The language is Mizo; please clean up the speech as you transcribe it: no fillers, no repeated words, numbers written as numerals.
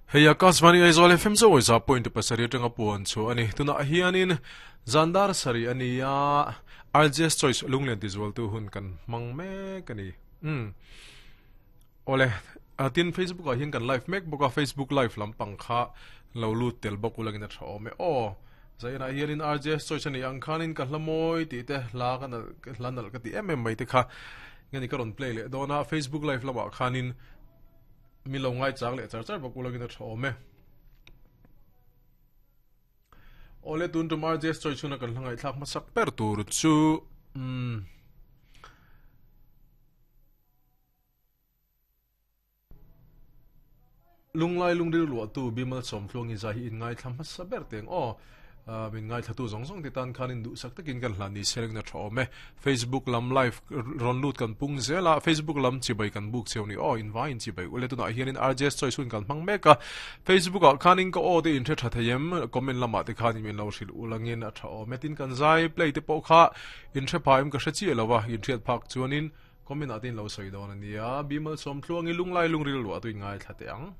Hei Akashvani Aizawl FM chawi za point pasarih atanga puan chu a ni. Tunah hianin zandar sarih a ni a, RJS Choice lunglen tizualtu hun kan hmang mek a ni. Umm. Awle, tin Facebook ah hian kan live mek bawk a, Facebook live lampang kha lo lut tel bawk ulangin a tha awm e. Aw, zainah hianin RJS Choice a nih ang khanin ka hla mawi tih te hla ka nalh hla nalh ka ti em em mai te kha nge ni ka rawn play leh dawn a, Facebook live lamah khanin Mi lo ngaichang leh char char bawk ulangin a tha awm e. Awle tun tum RJS chawi chhuna kan hla ngaihthlak hmasak ber tur chu umm Lunglai lungril luahtu Bimal Sawmtluangi zai hi in ngaithla hmasa ber teng aw. Min ngaithlatu zawng zawng te tan khan in duhsak takin kan hlan ni selengna tha awm e. Facebook lam live rawn lut kan pung zel a, Facebook lam chibai kan buk cheu ni aw, in vaiin chibai ule tunah hianin RJS Choice hun kan hmang mek a, Facebook ah khanin ka aw te in hre tha thei em, comment lamah te khanin min lo hrilh ulangin a tha awm e, tin kan zai play te pawh kha in hre pha em ka hre chiah lo a, in hriat phak chuanin comment ah te in lo sawi dawn a nia, Bimal Sawmtluangi lunglai lungril luah tuin ngaithla teh ang.